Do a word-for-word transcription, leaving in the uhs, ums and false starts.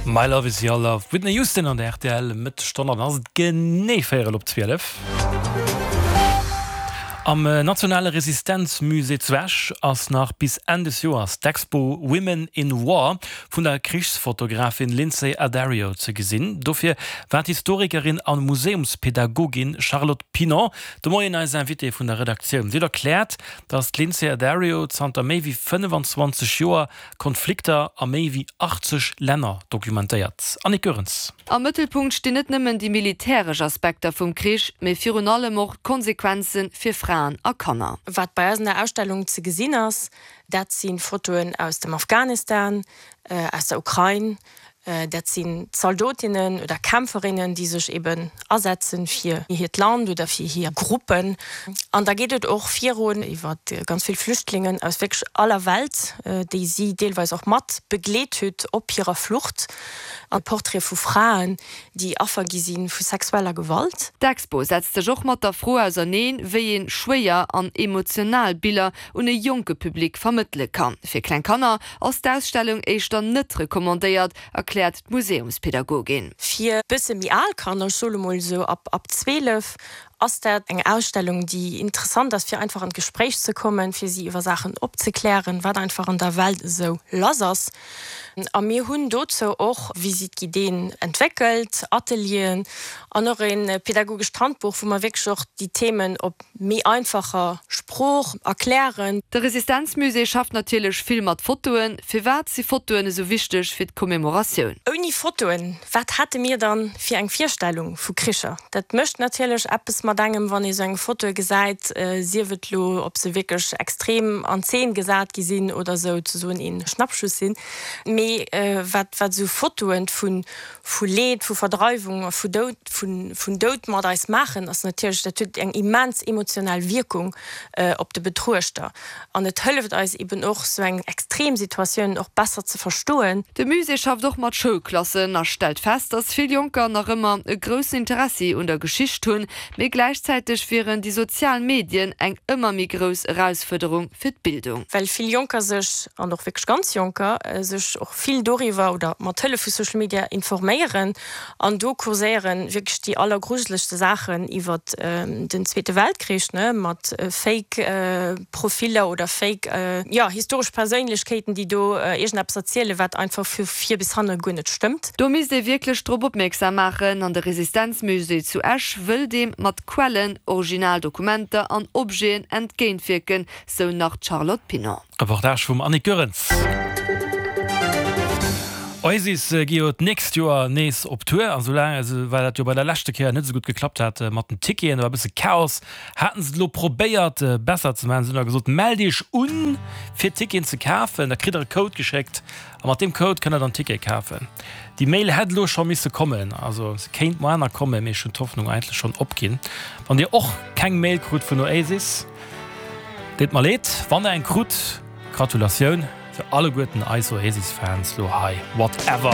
My Love Is Your Love, Whitney Houston an der R T L Mëttesstonn an ass et genee véierel op zwielef. Am nationale Resistenzmusée zu Esch ass nach bis Enn des Joers d'Expo Women in War vun der Krichsfotografin Lynsey Addario ze gesinn. Dofir war d'Historikerin a Museumspädagogin Charlotte Pinon de Moien eis Invitée vun der Redaktioun. Si huet erkläert, datt d'Lynsey Addario zanter méi wéi fënnfanzwanzeg Joer Konflikter a méi wéi achtzeg Länner dokumentéiert. Annick Goerens. Am Mëttelpunkt stinn net nëmmen déi militäresch Aspekter vum Krich, mee virun allem och d'Konsequenze fir Fraen a Kanner. Wat bei eis an der Ausstellung ze gesinn ass, dat si Fotoen aus dem Afghanistan, aus der Ukrain, dat sinn Zaldotinnen oder Kämpferinnen, déi sech eben asetzen fir hiert Land oder fir hir Gruppen. An da geet et och virun iwwer ganz vill Flüchtlingen aus wierklech aller Welt, déi si deelweis och mat begleet huet op hirer Flucht, a Portraite vu Fraen, déi Affer gi si vu sexueller Gewalt. D'Expo setzt sech och mat der Fro auserneen, wéi ee schwéier an emotional Biller un e jonke Public vermëttele kann. Fir kleng Kanner ass d'Ausstellung éischter net recommandéiert, erkläert d'Museumspädagogin. Fir bësse méi al Kanner, ech soe mol esou ab ab zwielef, ass dat eng Ausstellung, déi interessant ass, fir einfach an d'Gespréich ze kommen, fir si iwwer Saachen opzeklären, wat einfach an der Welt esou lass ass. A mir hunn dozou och Visite-guidéen entwéckelt, Atelieren an och e pädagogescht Handbuch, wou mer wierklech och déi Themen op méi einfacher Sprooch erklären. De Resistenzmusée schafft natierlech vill mat Fotoen. Firwat si Fotoen esou wichteg fir d'Commemoratioun? Ouni Fotoen, wat hätte mir dann fir eng Virstellung vu Kricher? Dat mécht natierlech eppes mat engem, wann ee sou eng Foto gesäit, sief et lo, ob se wierklech extrem an Zeen gesat gi sinn oder souzesoen ee Schnappschuss sinn. Mee wat wat sou Fotoen vu vu Leed, vu Verdreiwung a vu Doud vun vun Doud mat eis maachen, ass natierlech, dat huet eng immens emotional Wierkung op de Betruechter. An et hëlleft eis eben och, sou eng extrem Situatioun och besser ze verstoen. De Musée schafft och mat Schoulklassen a stellt fest, datt vill Jonker nach ëmmer e groussen Interessi un der Geschicht hunn, mee gläichzäiteg wieren déi sozial Medien eng ëmmer méi grouss Erausfuerderung fir d'Bildung. Well vill Jonker sech, an och wierklech ganz Jonker, sech och vill doriwwer oder mat Hëllef vu Social Media informéieren an do kurséieren wierklech déi allergrujelegste Saachen iwwer den Zweete Weltkrich, ne, mat Fake Profiller oder Fake, jo, historesch Perséinlechkeeten, déi do iergendeppes erzielen, wat einfach vu vir bis hanne guer net stëmmt. Do misst ee wierklech drop opmierksam maachen an de Resistenzmusée zu Esch wëll deem mat Quellen, Originaldokumenter an Objeten entgéintwierken, sou nach d'Charlotte Pinon. Reportage vum Annick Goerens. Oasis gi jo d'nächst Joer nees op Tour an soulaang, also well dat jo bei der leschte Kéier net esou gutt geklappt hat mat den Ticketen, do war e bësse Chaos, haten se et elo probéiert besser ze maachen. Se hunn da gesot, mellt iech un fir Ticketen ze kafen, da kritt der e Code geschéckt a mat deem Code kënnt der dann Tickete kafen. Déi Mail hätt elo scho misse kommen, also se kéint moar nach kommen, mee ech hunn d'Hoffnung eigentlech schonn opginn. Wann dir och keng Mail krut vun Oasis, deet mer leed. Wann der eng krut, Gratulatioun fir alleguerten eis Oasis-Fans lo hei. Whatever.